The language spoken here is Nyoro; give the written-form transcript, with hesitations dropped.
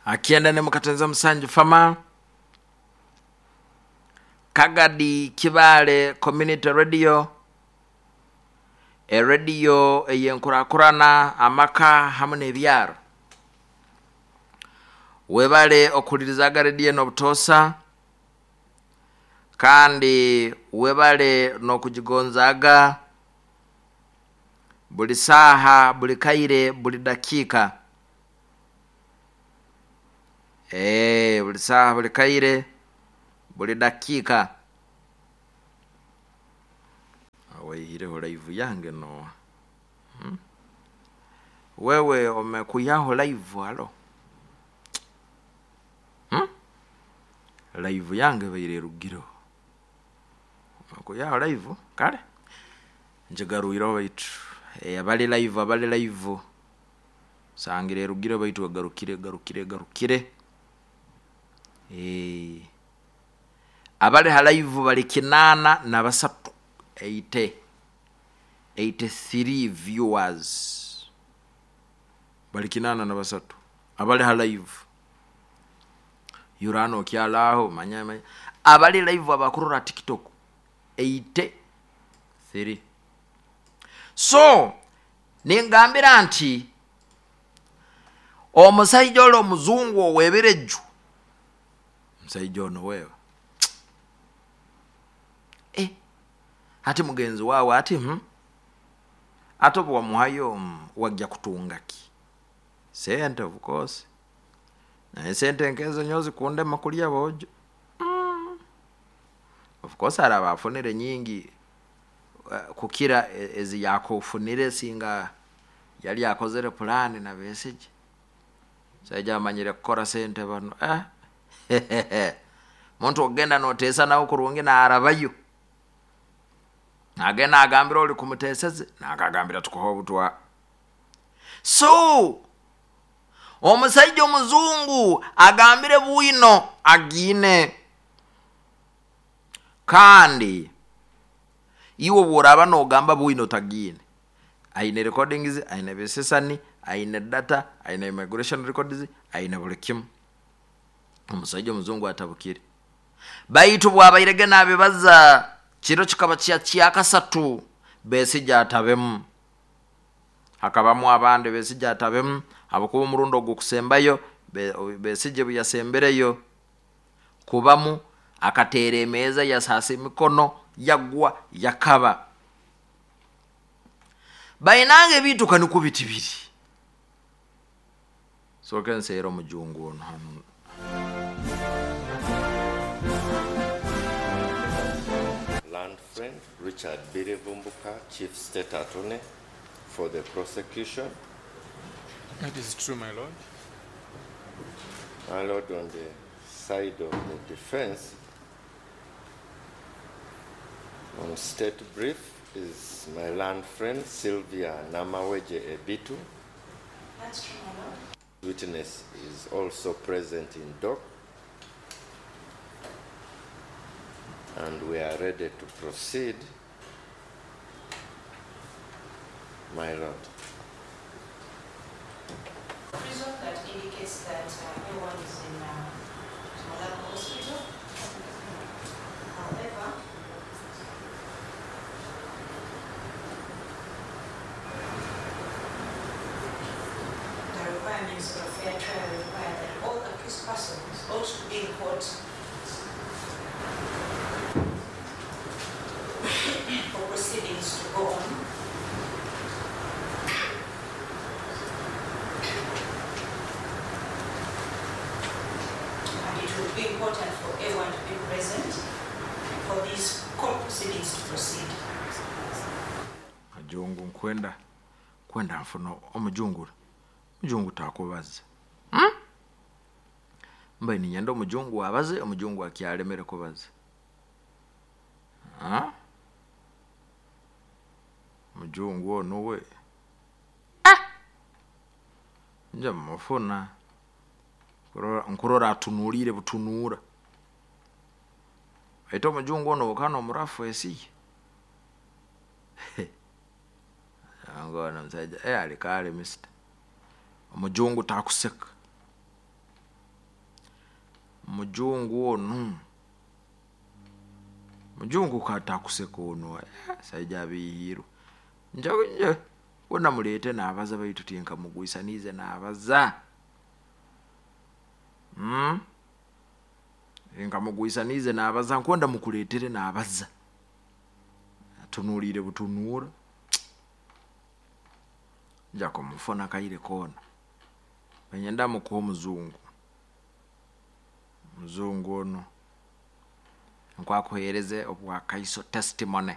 Akienda ne mukatenza musanju fama Kagadi Kibaale Community Radio, erediyo ey'enkurakurana amaka hamu n'ebyaro. Webale okuhulirizaga rediyo eno obutoosa, kandi webale n'okugigonzaaga buli saaha, buli kaire, buli dakiika. Buli saaha, buli kaire, buli dakiika. Waihireho live yange nooha? Wewe omekwihaho live halo? Live yange ebaire erugireho. Omekwihaho live? Kale ngigarwireho baitu abali live abali live nsangire erugireho baitu egarukire egarukire egarukire. Abali ha live bali 83, 83 viewers. Bali 83 abali ha live. Yurano okyalaaho manya manya. Abali live abakurora TikTok 83. So ningambira nti omusaija oli omuzungu ow'ebireju, omusaija ono wewe ati mugenzi waawe ati ate obu wamuhayo wajja kutunga ki? Sente of course. Naye sente nkezo nyowe zikundema kulya boojo. Of course araba afunire nyingi kukira ezi yakufunire singa yali akozere pulaani na Besigye. Omusaija amanyire kukora sente banu. Muntu okugenda noteesa nawe kurungi naarabayo. Nagenda agambira oli kumuteeseze, nakagambira tukuha obutwa. So omusaija omuzungu agambire bwino agiine. Kandi iwe obworaaba nogamba bwino tagiine, aine recordings, aine ebisisani, aine data, aine immigration records, aine buli kimu. Omusaija omuzungu atabukire. Baitu bwabairege nabibaza, kiro kikaba kya kyakasatu, Besigye atabemu. Hakabamu abandi Besigye atabemu, habwokuba omurundi ogw'okusembayo Besigye obu yasembereyo kubamu, akateera emeeza yasaasa emikono, yagwa yakaba. Bainanga ebintu kanukwo biti biri. Sooke nseere omujungu ono hanu. Learned friend Richard Birivumbuka, Chief State Attorney for the prosecution. That is true, my lord. My lord, on the side of the defense, on state brief is my learned friend Sylvia Namaweje Ebitu. That's true, my lord. Witness is also present in dock, and we are ready to proceed, my lord. Prison that indicates that A1 is in Mulago Hospital. However, the requirements of a fair trial require that all accused persons ought to be in court for proceedings to go on. And it would be important for A1 to be present for these court proceedings to proceed. Majungu nkwenda kwenda nfuna omujungu, omujungu takubaza. Mbaire ninyenda omujungu abaze, omujungu akyalemere kubaza. Omujungu ono we nja mufuna nkurora atunuulire butunuura. Baitu omujungu ono okana omurafu esiye. Ngono omusaija alikale mister. Omujungu takuseka. Mujungu onu, mujungu katakuseka onu, saija abihiirwe. Nje nje wona muleete naabaza, baitu tinkamugwisaniize naabaza. Nkamugwisaniize naabaza, nkwenda mukuleetere naabaza. Atunuulire butunuura. Nja kumufuna kaire koona. Niinyenda mukuhe omuzungu. Omuzungu onu nkwakuheereze obwakaiso, testimony.